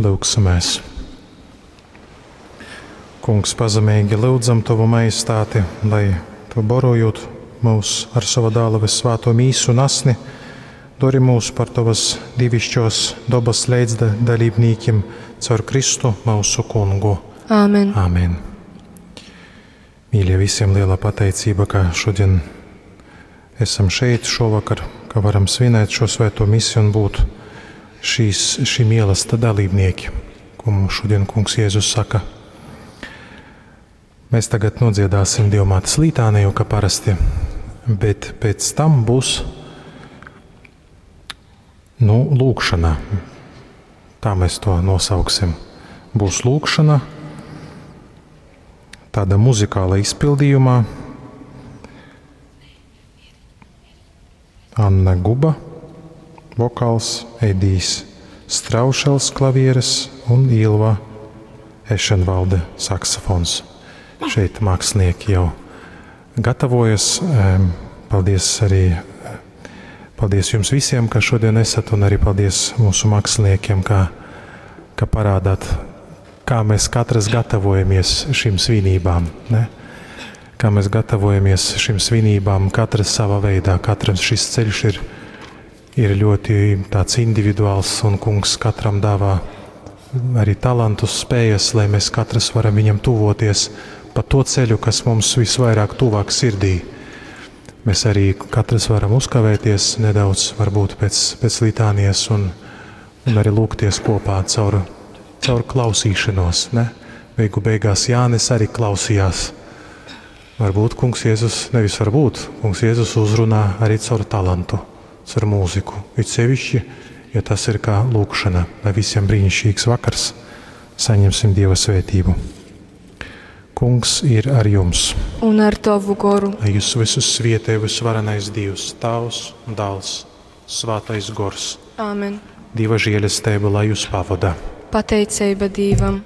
Lyugsimēs. Kungs, pazemeigi lyudzam Tovu majestāti, lai Tu borojūt mūs ar sova dāla vyssvāto mīsu un asni, dori mūs par Tovas divišķos dobas leidzdalībnīkim caur Kristu mūsu kungu. Āmen. Āmen. Mīļie, visiem liela pateicība, ka šodien esam šeit šovakar, ka varam svinēt šo svēto misiju un būt šīs, šī mīlesta dalībnieki, ko mums šodien Kungs Jēzus saka. Mēs tagad nodziedāsim Dievmātes litāniju, kā parasti, bet pēc tam būs nu, lūkšana. Tā mēs to nosauksim. Būs lūkšana tāda muzikāla izpildījumā. Anna Guba, vokāls, Edijs Straušels klavieres un Ilva Ešenvalde saksofons. Šeit mākslinieki jau gatavojas. Paldies arī paldies jums visiem, ka šodien esat, un arī paldies mūsu māksliniekiem, ka, ka parādāt, kā mēs katrs gatavojamies šīm svinībām. Ne? Kā mēs gatavojamies šīm svinībām, katrs savā veidā, katram šis ceļš ir, ir ļoti tāds individuāls, un kungs katram dāvā arī talantus, spējas, lai mēs katrs varam viņam tuvoties pa to ceļu, kas mums visvairāk tuvāk sirdī. Mēs arī katrs varam uzkavēties nedaudz, varbūt pēc, pēc litānijas, un, un arī lūgties kopā caur, caur klausīšanos. Ne? Beigu beigās Jānis arī klausījās. Varbūt kungs Jēzus, nevis varbūt, kungs Jēzus uzrunā arī caur talantu, caur mūziku. It sevišķi, ja tas ir kā lūkšana, lai visiem brīnišķīgs vakars, saņemsim Dieva svētību. Kungs ir ar jums. Un ar Tavu goru. Lai jūs visus svietē visvarenais Dievs, Tēvs, Dēls, Svētais Gors. Āmen. Dieva žēlastība, lai jūs pavada. Pateicība Dievam.